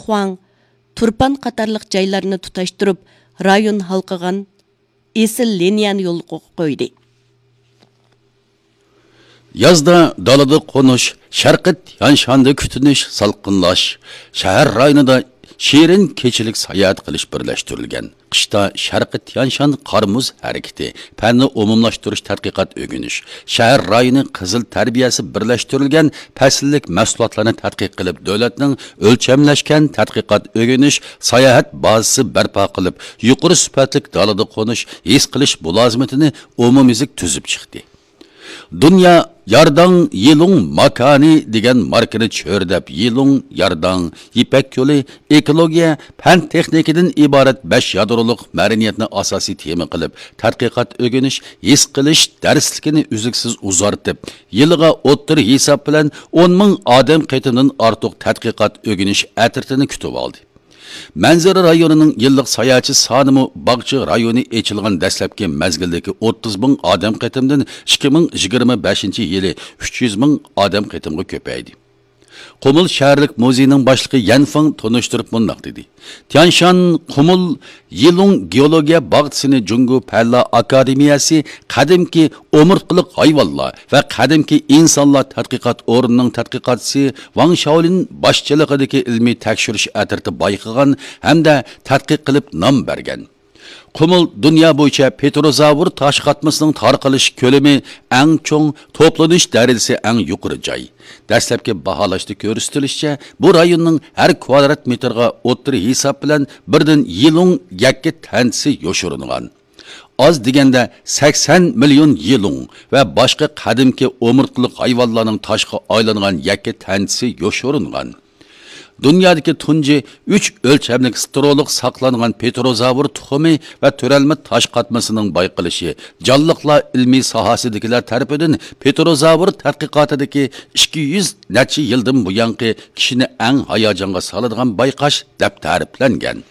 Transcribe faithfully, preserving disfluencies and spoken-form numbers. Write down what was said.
خۇاڭ، تۇرپان قاتارلىق جايلارنى تۇتاشتۇرۇپ، رايون ھالقىغان ئېسىل لىنىيەنى يولغا قويدى. يازدا دالىدا قونۇش، شەرقىي تيانشاندا كۈتۈنۈش، سالقىنلاش، شەھەر رايونىدا شېرىن كېچىلىك ساياھەت قىلىش بىرلەشتۈرۈلگەن. قىشتا شەرقىي تيانشان قار مۇز ھەرىكىتى، پەننى ئومۇملاشتۇرۇش، تەتقىقات ئۆگىنىش، شەھەر رايونى قىزىل تەربىيەسى بىرلەشتۈرۈلگەن پەسىللىك مەھسۇلاتلارنى تەتقىق قىلىپ، دۆلەتنىڭ ئۆلچەملەشكەن تەتقىقات ئۆگىنىش ساياھەت بازىسى بەرپا قىلىپ، يۇقىرى سۈپەتلىك دالىدا قونۇش، ھېس قىلىش مۇلازىمىتىنى ئومۇميۈزلۈك تۈزۈپ چىقتى. دۇنيا يارداڭ يىلۇڭ ماكانى دېگەن ماركىنى چۆرىدەپ، يىلۇڭ، يارداڭ، يىپەك يولى، ئېكولوگىيە، پەن تېخنىكىدىن ئىبارەت بەش يادرولۇق مەدەنىيەتنى ئاساسىي تېما قىلىپ، تەتقىقات ئۆگىنىش، ھېس قىلىش دەرسلىكىنى ئۈزلۈكسىز ئۇزارتىپ، يىلىغا ئوتتۇرا ھېساب بىلەن ئون مىڭ ئادەم قېتىمدىن ئارتۇق تەتقىقات ئۆگىنىش ئەترىتىنى كۈتۈۋالدى. مەنزىرە رايونىنىڭ يىللىق ساياھەتچى سانىمۇ باغچە رايونى ئېچىلغان دەسلەپكى مەزگىلدىكى ئوتتۇز مىڭ ئادەم قېتىمدىن ئىككى مىڭ يىگىرمە بەشىنچى يىلى ئۈچ يۈز مىڭ ئادەم قېتىمغا كۆپەيدى. قۇمۇل شەھەرلىك مۇزېينىڭ باشلىقى يەن فېڭ تونۇشتۇرۇپ مۇنداق دېدى: تيانشان قۇمۇل يىلۇڭ گېئولوگىيە باغچىسىنى جۇڭگو پەنلەر ئاكادېمىيەسى قەدىمكى ئومۇرتقىلىق ھايۋانلار ۋە قەدىمكى ئىنسانلار تەتقىقات ئورنىنىڭ تەتقىقاتچىسى ۋاڭ شاۋلىن باشچىلىقىدىكى ئىلمىي تەكشۈرۈش ئەترىتى بايقىغان ھەمدە تەتقىق قىلىپ نام بەرگەن. قۇمۇل دۇنيا بويىچە پېتېروزاۋر تاش قاتمىسىنىڭ تارقىلىش كۆلىمى ئەڭ چوڭ، توپلىنىش دەرىجىسى ئەڭ يۇقىرى جاي. دەسلەپكى باھالاشتا كۆرسىتىلىشىچە، بۇ رايوننىڭ ھەر كۋادرات مېتىرغا ئوتتۇرا ھېساب بىلەن بىردىن يىلۇڭ يەككە تەنتىسى يوشۇرۇنغان. ئاز دېگەندە سەكسەن مىليون يىلۇڭ ۋە باشقا قەدىمكى ئومۇرتقىلىق ھايۋانلارنىڭ تاشقا ئايلانغان يەككە تەنتىسى يوشۇرۇنغان. دۇنيادىكى تۇنجى ئۈچ ئۆلچەملىك ستېرولۇق ساقلانغان پېتېروزاۋر تۇخۇمى ۋە تۆرەلمە تاش قاتمىسىنىڭ بايقىلىشى جانلىقلار ئىلمىي ساھەسىدىكىلەر تەرىپىدىن پېتېروزاۋر تەتقىقاتىدىكى ئىككى يۈز نەچچە يىلدىن بۇيانقى كىشىنى ئەڭ ھاياجانغا سالىدىغان بايقاش دەپ تەرىپلەنگەن.